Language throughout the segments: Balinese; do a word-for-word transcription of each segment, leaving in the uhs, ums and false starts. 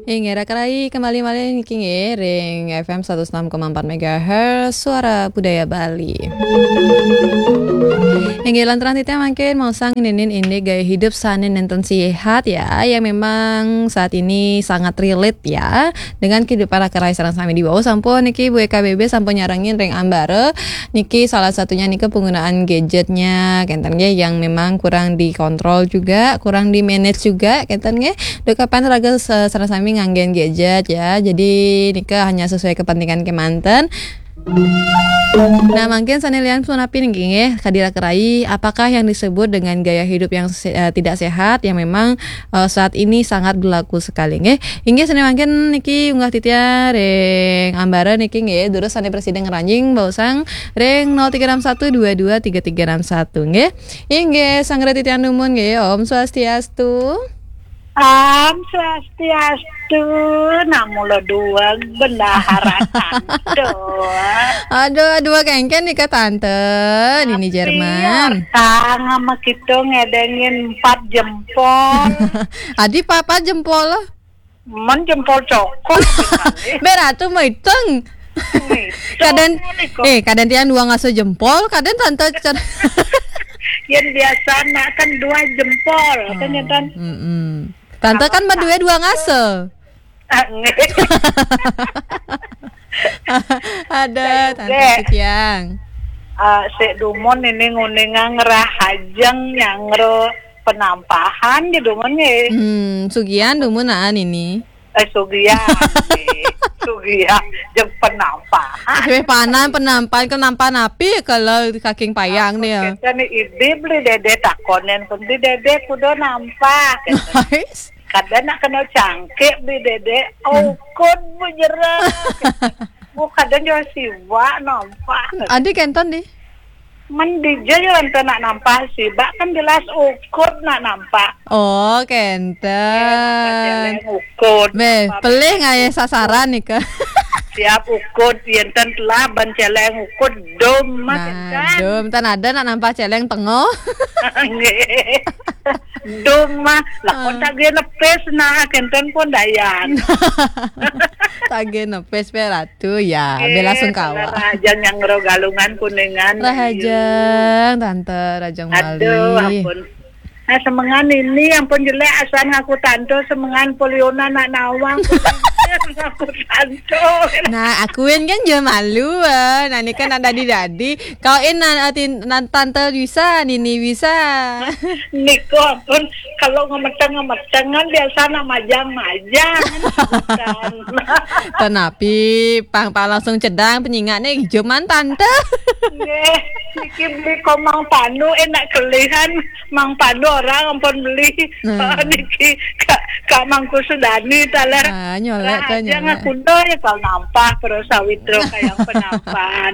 Inggih, raka rayi, kembali malih niki nggih ring F M seratus enam koma empat megahertz, Suara Budaya Bali. Inggih, lanturang titiang mangkin maosang ngenénin indik gaya hidup sané nénten séhat ya, yang memang saat ini sangat relate ya dengan kehidupan raka rayi sareng sami. Diwau sampun niki Bu E K B B sampun nyarengin ring ambara, niki salah satunya nika penggunaan gadgetnya, kénten nggih, yang memang kurang dikontrol juga, kurang di-manage juga, kénten nggih. Duh kapan raga sa-, sareng sami nganggén gadget ya. Jadi nika hanya sesuai kepentingan kemanten. Nah, mangkin sané lian punapi niki nggih, kadi raka rayi, apakah yang disebut dengan gaya hidup yang se-, eh, tidak sehat yang memang, eh, saat ini sangat berlaku sekali nggih. Inggih, sané mangkin niki unggah titiang ring ambara niki nggih, durus sané prasida ngranjing baosang ring nol tiga enam satu dua dua tiga tiga enam satu nggih. Inggih, sanggra titiang dumun nggih, Om Swastiastu. Om Swastiastu, namula dua bendahara tante. Aduh, dua kéngkén nika tante, Nini Jerman. Tang sama kita ngedengin empat jempol. Adi papa jempol. Men jempol cokor. Bé Ratu maitung. Kadén, eh, kadén tiang dua ngasuh jempol, kadén tante can- Yang biasa nak kan dua jempol, kan ya, Tan? Mm-mm. Tante kan berdua dua ngasuh. Ah, nggih. Ada, Tante Tiang. Ah, sik dumun ini nguningang rahajeng nyangro penampahan di dumun nggih. Hmm, sugian dumun naan ini. Eh, sugian, nggih. Sugian, jeung penampahan. Wéh, panan, penampahan, kenampahan api kalau kaking payang nih ya. Kita nih, Ibi beli Dede takonen pun, beli Dede kudu nampah. Nice. Kadén nak kena cangkik beli Dede, ukud bu jera. Bu kadén jual siwa nampah. Adi kénten di. Men dija ya ente nak nampah sibak kan jelas ukud nak nampah. Oh, kénten. Ukud. Bé, pelih ngayah sasaran nika. Siap ukud, yén ten telah ban céléng ukud, dum mah. Nah, dum, tan ada nak nampah céléng tengah. Nggih. Dum mah, lah kon tagih nepis nah, kénten pun dayan. Tagih nepis, bé Ratu ya, bé langsung kawa. Rahajeng nyangro Galungan Kuningan. Rahajeng, Tante, rahajeng malih. Aduh, ampun. Nah, semengan ini ampun jelek, asan ngaku tante, semengan poliona nak nawang. Ngaku tante. Nah, akuin kan je malu, eh. Nah, ini kan ada di dadi. Kau in nan, eh, tin-, nan tante bisa, nini bisa. Niko ampun, kalau ngemeteng-ngemeteng kan biasa nak majang-majang. Tenapi, pang, pang langsung cedang penyingat nih, juman tante. Nggih, niki beli komang panu enak kelihan, mang panu orang ampun beli. Nah. Oh, niki Kak, Kak Mangku Sudani taler. Ah, nyolek kan, rahajeng nyolek. Aku doh ya kalau nampah terus sawitro kayak penampahan.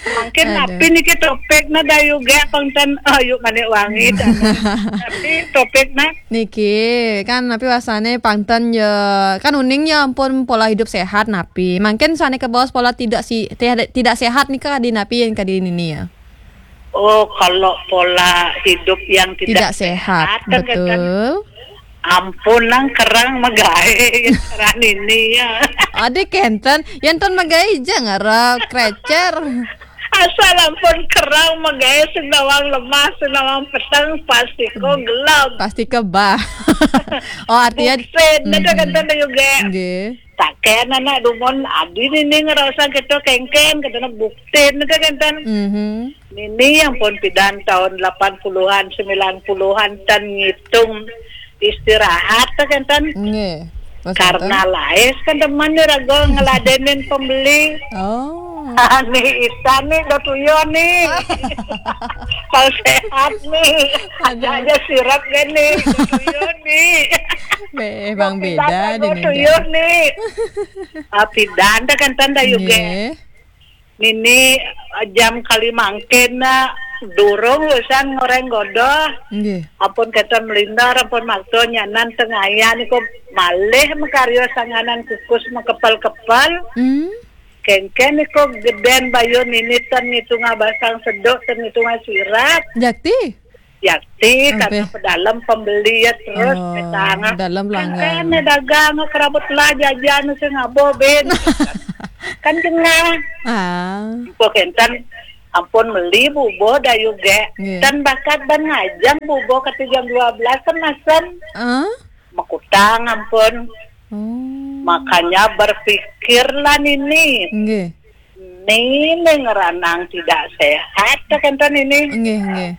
Mungkin tapi niki topik na dayu ge pangten, oh, yuk manik wangi. Tapi topik na niki kan napi wasane pangten ya, kan uning ya ampun pola hidup sehat napi. Mungkin sane ke bos pola tidak si, tidak, tidak sehat nika kadi napi yang kadi nini ya. Oh, kalau pola hidup yang tidak sehat, kan, kan, betul. Ampun nang kerang magae, kerang ini ya. Adi kenten, yang ton magae jang ara krecer. Asal ampun kerang magae senawang lemah, senawang petang pasti ko gelap. Pasti kebah. Oh, artinya buksen, ada kenten juga. Nggih. Taken anak dumun adi nini ngerasa kita kengken, kita buktin, kita kenten. Mhm. Nini yang pun pidan tahun delapan puluhan, sembilan puluhan tan ngitung istirahat, kita kenten. Nggih. Karena laes kan teman ni raga ngeladenin pembeli. Oh. Ani ita ni dah tuyo ni. Kalau sehat ni, aja, aja sirap gini, dah tuyo ni. Be, bang beda dini. Tuyo ni. Ah, pidan dah kan tanda juga. Nggih. Nini, ah, jam kali mangkin na durung usan ngoreng godoh. Nggih. Ampun kata melindar, ampun makto nyanan tengayan iko malih makaryo sanganan kukus makepal-kepal. Hmm. Kengken iko geden bayu nini ten ngitunga basang sedok, ten ngitunga sirap. Jakti? Yati, karena pedalem pembeli ya terus. Oh, pedalem pelanggan. Kan dagang, kerabut lah jajan sing abo, Ben. Kan kena. Ah. Kok enten, ampun, meli bubuh dayu ge. Nggih. Kan bakat ban ngajeng bubuh kati jam dua belas kan masem. Ah? Makutang, ampun. Oh. Makanya berpikirlah Nini. Nggih. Nini ngeranang tidak sehat, kenten Nini. Nggih, nggih.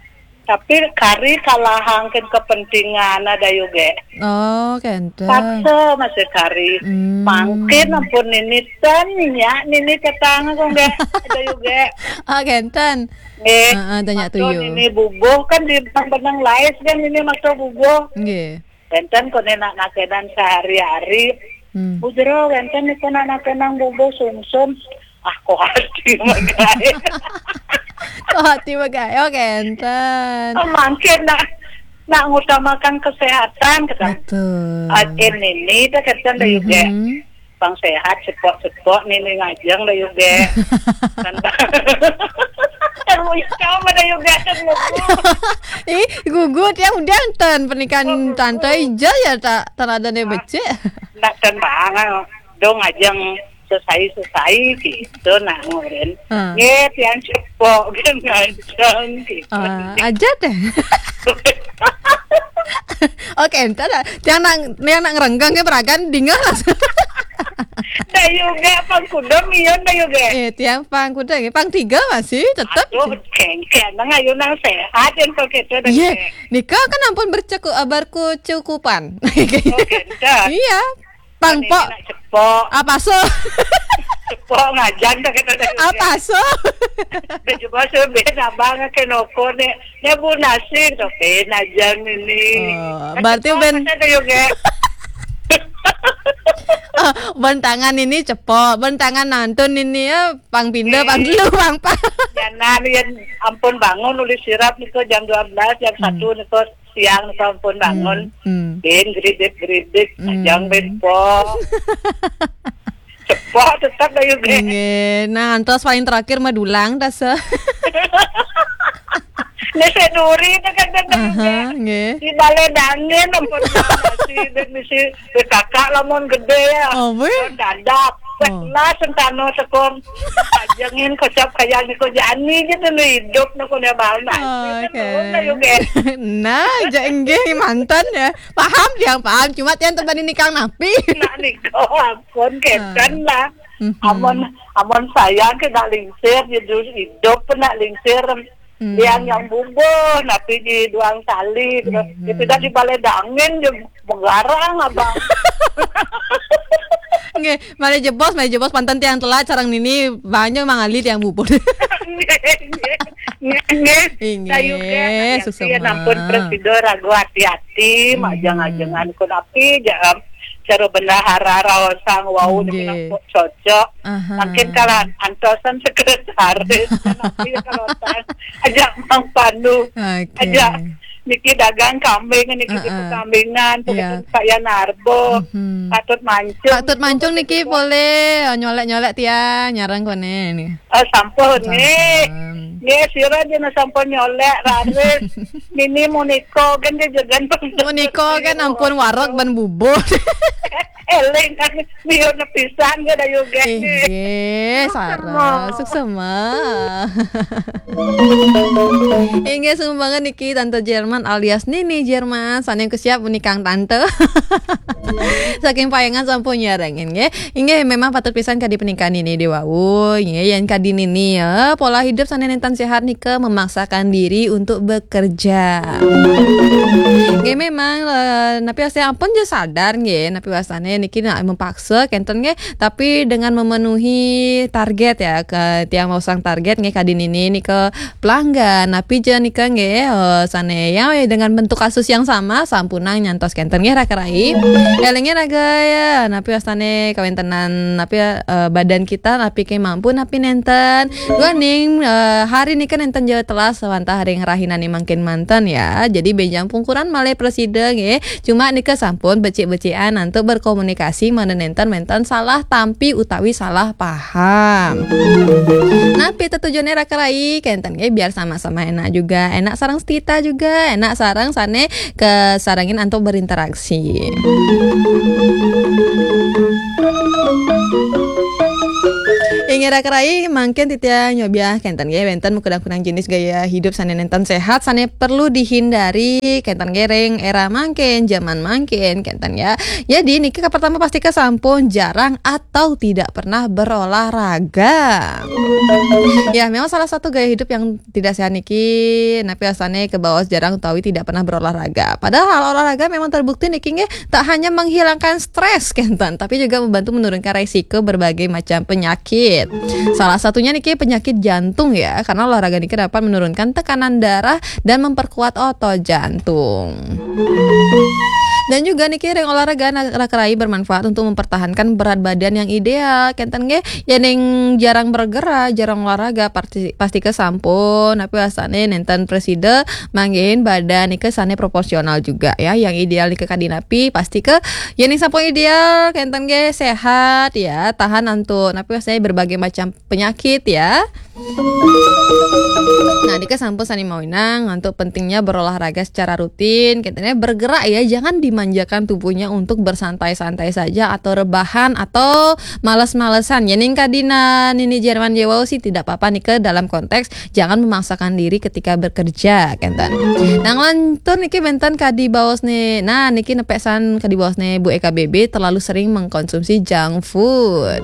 Tapi kari kalahangkin kepentingan ada yuge. Oh, kenten. Paksa masih kari. Hmm. Mangkin ampun Nini ten ya, Nini ketang aku nggak ada yuge. Oh, kenten. Nggih. Heeh, tanya tuh, yo. Nini bubuh kan di benang-benang lais kan Nini maksa bubuh. Nggih. Kenten kone nak nakenan sehari-hari. Hmm. Bujero kenten niko nak nakenan bubuh sumsum. Ah, kok hati magae. Kok hati magae, oh, kenten. Oh, mangkin nak, nak ngutamakan kesehatan, kata. Betul. Ah, ini nih, dah kenten dah yuge. Mhm. Pang sehat, sepok-sepok, Nini ngajeng dah yuge. Kan, kan mau ikam ada yuge, kan mau. Ih, gugu tiang udah ten pernikahan tante ija ya tak, tak ada nih becik. Nak ten banget. Dong ngajeng sesai-sesai gitu, nak ngurin. Ah. Nggih, tiang cepok, kan ngajeng gitu. Ah, aja deh. Oke, entar lah. Tiang nak, tiang nak ngerenggang ke peragan, dingah lah. Dah yuge, pang kuda mion dah yuge. Eh, tiang pang kuda, pang tiga masih tetap. Aduh, kengkeng, nang ayu nang sehat, yang kok gitu dah. Iya, yuge. Nika kan ampun berceku-, berkecukupan. Oh, gitu. Iya. Pang pok. Cepok. Apa so? Cepok ngajeng dah kata dah. Apa so? Dah juga so, ben abang ke noko ne. Ne bu nasi tu, ben aja Nini. Oh, berarti ben. Kata yuge. Oh, ben tangan ini cepok, ben tangan nantun ini ya, pang pindah, pang dulu, pang pang. Ya, nah, ya ampun bangun, uli sirap niko jam dua belas, jam satu niko siang niko ampun bangun. Hmm. Ben geridik-geridik, ajang ben pok. Cepok tetap dah yuge. Nggih. Nah, antos paling terakhir mah dulang, tase. Nasi duri, dah kenten dah yuge. Aha, nggih. Di balai dangin, ampun, nasi, dek misi, dek kakak lamun gede ya. Oh, weh. Dadak. Oh. Lah, sentano tekong. Ajengin kocap kaya niko jani gitu, nu hidup, nu kuda bal nasi. Oh, oke. Nah, dah yuge. Nah, ja enggih manten ya. Paham tiang, paham. Cuma tiang tebani nikang napi. Nak niko, ampun, kenten lah. Mhm. Amun, amun sayang ke nak lingsir, jadi hidup pun nak lingsir. Hmm. Yang, yang bubuh, napi di duang sali, gitu. Hmm. Ya, tidak di balai dangin, dia menggarang, abang. Nggih, mari jebos, mari jebos, panten tiang telat, sareng Nini, banyak mangali tiang bubuh. Nggih, nggih. Nggih, nggih. Inggih, sayuke, hati-hati, suksema. Ya, ampun, presido ragu hati-hati, hmm, majang-ajengan, kun api, ja-, cara bendahara raosang, wau, nggih, niki cocok. Aha. Mungkin kalau antosan sekretaris, kan aku ya kalau tas, ajak Mang Pandu, oke, ajak niki dagang kambing, niki di, heeh, perkambingan, iya, begitu saya narbo, mhm, patut mancung. Patut mancung niki boleh, nyolek-nyolek tiang, nyarang kone nih. Oh, sampun, sampun, nih. Nih, sira dina sampun nyolek, raris. Nini Muniko kan dia jagan. Muniko kan ampun warok ban bubur. Eling kan, biar nepisan ke dayu gek. Inggih, sareng. Suksema. Inggih, sumbangan niki Tante Jerman alias Nini Jerman. Sane kesiap menikang Tante. Saking Payangan sampun nyarengin, nggih. Inggih, memang patut pisan kadi pernikahan ini di wau, nggih, yen kadi nini ya, pola hidup sane nenten sehat nika memaksakan diri untuk bekerja. Nggih, memang, eh, napi wastane ampun ja sadar, nggih, napi wastane niki nak mempaksa kenten, nggih, tapi dengan memenuhi target ya, ke tiang masang target, nggih, kadi nini nika pelanggan, napi ja nika, nggih, eh, sane ya, dengan bentuk kasus yang sama, sampunang nyantos kenten, nggih, raka rai. Élinga raga ya, napi wastané kawéntenan napi ya, eh, badan kita napi ké mampu napi nénten. Duaning eh, hari nika nénten jauh telas wantah ring rahinané mangkin manten ya. Jadi bénjang pungkuran malih prasida nggih. Cuma nika sampun becik-becikan antuk berkomunikasi mangda nénten wénten salah tampi utawi salah paham. Napi tetujuné Raka Rai? Kénten nggih, biar sama-sama enak juga, enak sareng setita juga, enak sareng sané kasarengin antuk berinteraksi. Inggih Raka Rai, mangkin titiang nyobiah kénten nggih, wénten makudang-kudang jenis gaya hidup sané nénten séhat, sané perlu dihindari, kénten nggih, ring éra mangkin, jaman mangkin, kénten ya. Jadi niki kapertama pastika sampun jarang atau tidak pernah berolahraga. Ya, memang salah satu gaya hidup yang tidak sehat niki, napi wastané kabaos jarang utawi tidak pernah berolahraga. Padahal olahraga memang terbukti niki nggih tak hanya menghilangkan stres kénten, tapi juga membantu menurunkan resiko berbagai macam penyakit. Salah satunya niki penyakit jantung ya, karena olahraga niki dapat menurunkan tekanan darah dan memperkuat otot jantung. Dan juga niki ring olahraga na- Raka Rai bermanfaat untuk mempertahankan berat badan yang ideal. Kénten nggih, yén jarang bergerak, jarang olahraga, pasti pastika sampun napi wastané nénten prasida manggihin badan nika sané proporsional juga ya. Yang ideal nika kadi napi, pastika yén sampun ideal, kénten nggih séhat ya, tahan antuk napi wastané berbagai macam penyakit ya. Nah, nika sampun sané mawinan antuk pentingnya berolahraga secara rutin, katanya bergerak ya, jangan dimanjakan tubuhnya untuk bersantai-santai saja atau rebahan atau males-malesan. Yén nika dina nini Jerman Jewau sih tidak apa-apa nika dalam konteks jangan memaksakan diri ketika bekerja, kénten. Nah, nglantur niki wénten kadi baosné. Nah, niki nepek san kadi baosné Bu E K B B terlalu sering mengkonsumsi junk food.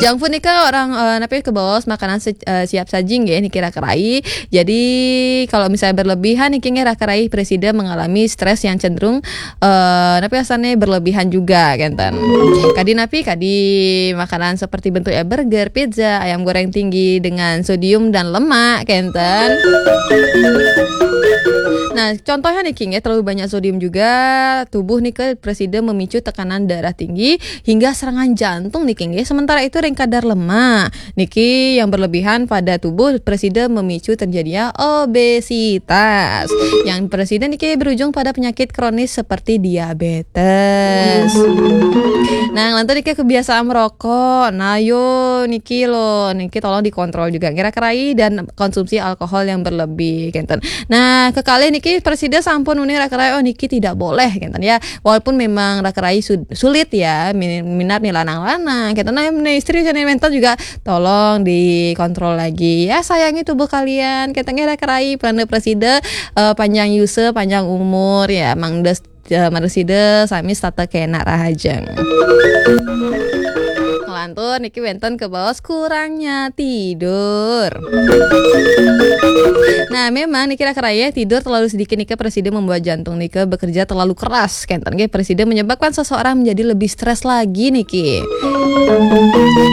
Junk food nika orang eh, napi kabaos makanan se- eh, siap saji nggih niki Raka Rai. Jadi kalau misalnya berlebihan niki nggih Raka Rai prasida mengalami stres yang cenderung eh napi wastané berlebihan juga kénten. Kadi napi kadi makanan seperti bentuknya burger, pizza, ayam goreng tinggi dengan sodium dan lemak kénten. Nah, contohnya niki nggih terlalu banyak sodium juga tubuh nika prasida memicu tekanan darah tinggi hingga serangan jantung niki nggih. Sementara itu ring kadar lemak niki yang berlebihan pada tubuh prasida memicu terjadinya obesitas. Yang prasida niki berujung pada penyakit kronis seperti diabetes. Nah, nglantur niki kebiasaan merokok. Nah, yo niki lo niki tolong dikontrol juga. Kira-kira dan konsumsi alkohol yang berlebih, kénten. Nah, kekalih niki prasida sampun uning Raka Rai, oh niki tidak boleh, kénten ya. Walaupun memang Raka Rai su- sulit ya, min- minat nih lanang-lanang, kénten. Nah, istri sané wénten juga tolong dikontrol lagi. Ya, sayangi tubuh kalian, kénten ya Raka Rai, pranda prasida eh, panjang yusa, panjang umur ya, mangda eh, prasida sami setata kénak rahajeng. Ngelantur niki wénten kabaos kurangnya tidur. Nah, memang niki Raka Rai, tidur terlalu sedikit nika prasida membuat jantung nika bekerja terlalu keras. Kénten nggih prasida menyebabkan seseorang menjadi lebih stres lagi niki.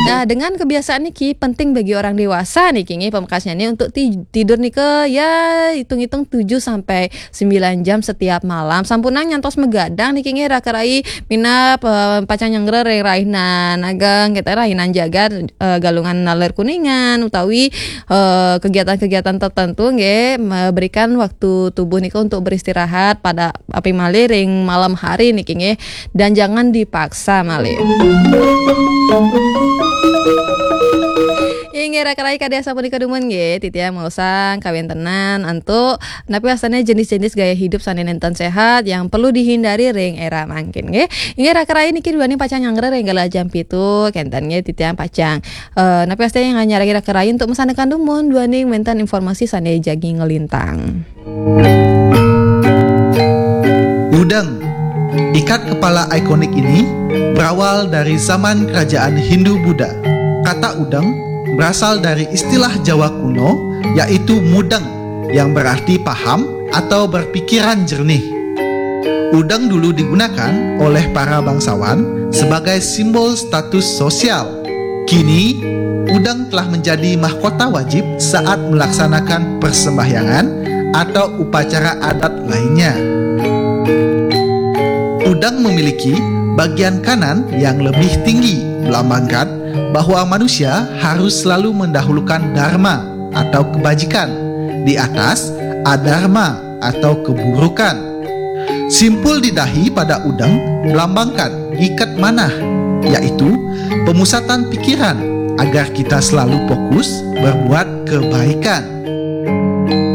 Nah, dengan kebiasaan niki penting bagi orang dewasa niki nggih pamekasnyané untuk ti- tidur nika ya hitung-hitung tujuh sampai sembilan jam setiap malam. Sampunang nyantos magadang niki nggih Raka Rai minab eh, pacang nyanggra ring rahinan ageng, kita rahinan jagat eh, Galungan Naler Kuningan utawi eh, kegiatan-kegiatan tertentu nggih memberikan waktu tubuh nika untuk beristirahat pada api malih ring malam hari niki nggih dan jangan dipaksa malih. Inggih Raka Rai kadi asapunika dumun nggih, titiang maosang kawéntenan antuk napi wastané jenis-jenis gaya hidup sané nénten séhat yang perlu dihindari ring éra mangkin nggih. Inggih Raka Rai niki duaning pacang nyanggra ring galah jam pitu, kénten nggih titiang pacang. Eh, napi wastané nyarengin Raka Rai untuk masandekan dumun duaning wénten informasi sané jagi nglintang. Udeng. Ikat kepala ikonik ini berawal dari zaman kerajaan Hindu Buddha. Kata udeng berasal dari istilah Jawa kuno, yaitu mudeng, yang berarti paham atau berpikiran jernih. Udeng dulu digunakan oleh para bangsawan sebagai simbol status sosial. Kini, udeng telah menjadi mahkota wajib saat melaksanakan persembahyangan atau upacara adat lainnya. Udang memiliki bagian kanan yang lebih tinggi, melambangkan bahwa manusia harus selalu mendahulukan dharma atau kebajikan di atas adharma atau keburukan. Simpul di dahi pada udang melambangkan ikat manah, yaitu pemusatan pikiran agar kita selalu fokus berbuat kebaikan.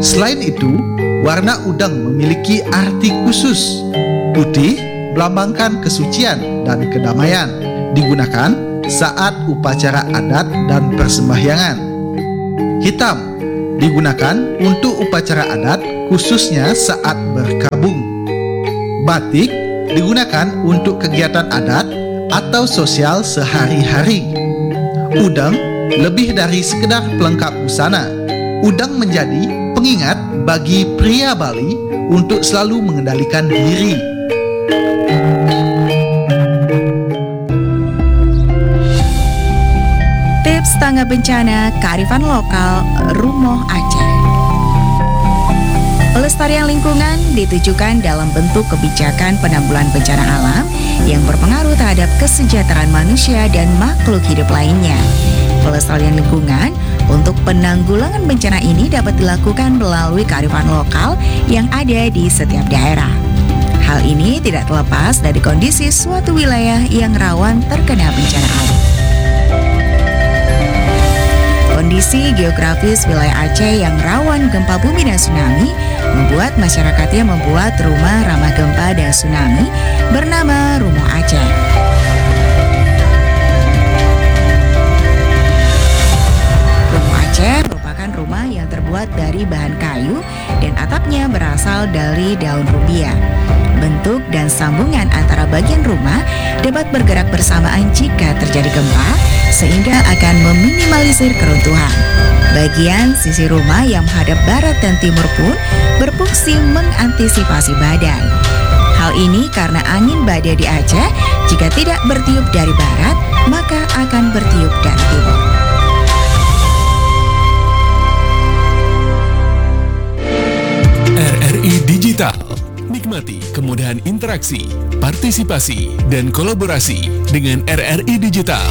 Selain itu, warna udang memiliki arti khusus. Putih melambangkan kesucian dan kedamaian, digunakan saat upacara adat dan persembahyangan. Hitam digunakan untuk upacara adat, khususnya saat berkabung. Batik digunakan untuk kegiatan adat atau sosial sehari-hari. Udang lebih dari sekedar pelengkap busana. Udang menjadi pengingat bagi pria Bali untuk selalu mengendalikan diri. Tips tanggap bencana kearifan lokal Rumoh Aceh. Pelestarian lingkungan ditujukan dalam bentuk kebijakan penanggulangan bencana alam yang berpengaruh terhadap kesejahteraan manusia dan makhluk hidup lainnya. Pelestarian lingkungan untuk penanggulangan bencana ini dapat dilakukan melalui kearifan lokal yang ada di setiap daerah. Hal ini tidak terlepas dari kondisi suatu wilayah yang rawan terkena bencana alam. Kondisi geografis wilayah Aceh yang rawan gempa bumi dan tsunami membuat masyarakatnya membuat rumah ramah gempa dan tsunami bernama Rumoh Aceh. Rumoh Aceh merupakan rumah yang terbuat dari bahan kayu dan atapnya berasal dari daun rumbia. Bentuk dan sambungan antara bagian rumah dapat bergerak bersamaan jika terjadi gempa, sehingga akan meminimalisir keruntuhan. Bagian sisi rumah yang menghadap barat dan timur pun berfungsi mengantisipasi badai. Hal ini karena angin badai di Aceh, jika tidak bertiup dari barat, maka akan bertiup dari timur. R R I Digital. Nikmati kemudahan interaksi, partisipasi, dan kolaborasi dengan R R I Digital.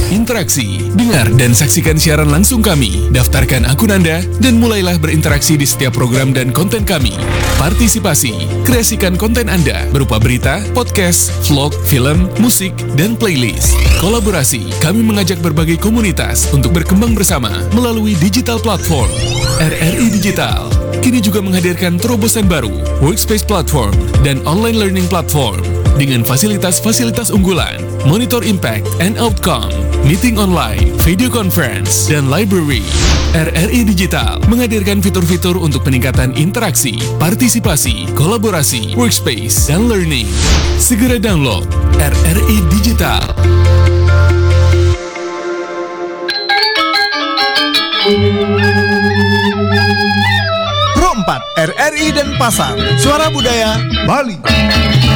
Interaksi, dengar dan saksikan siaran langsung kami. Daftarkan akun Anda dan mulailah berinteraksi di setiap program dan konten kami. Partisipasi, kreasikan konten Anda berupa berita, podcast, vlog, film, musik, dan playlist. Kolaborasi, kami mengajak berbagai komunitas untuk berkembang bersama melalui digital platform. R R I Digital kini juga menghadirkan terobosan baru, Workspace Platform dan Online Learning Platform dengan fasilitas-fasilitas unggulan, monitor impact and outcome, meeting online, video conference, dan library. R R I Digital menghadirkan fitur-fitur untuk peningkatan interaksi, partisipasi, kolaborasi, workspace, dan learning. Segera download R R I Digital. Pro empat, R R I Denpasar, Suara Budaya Bali.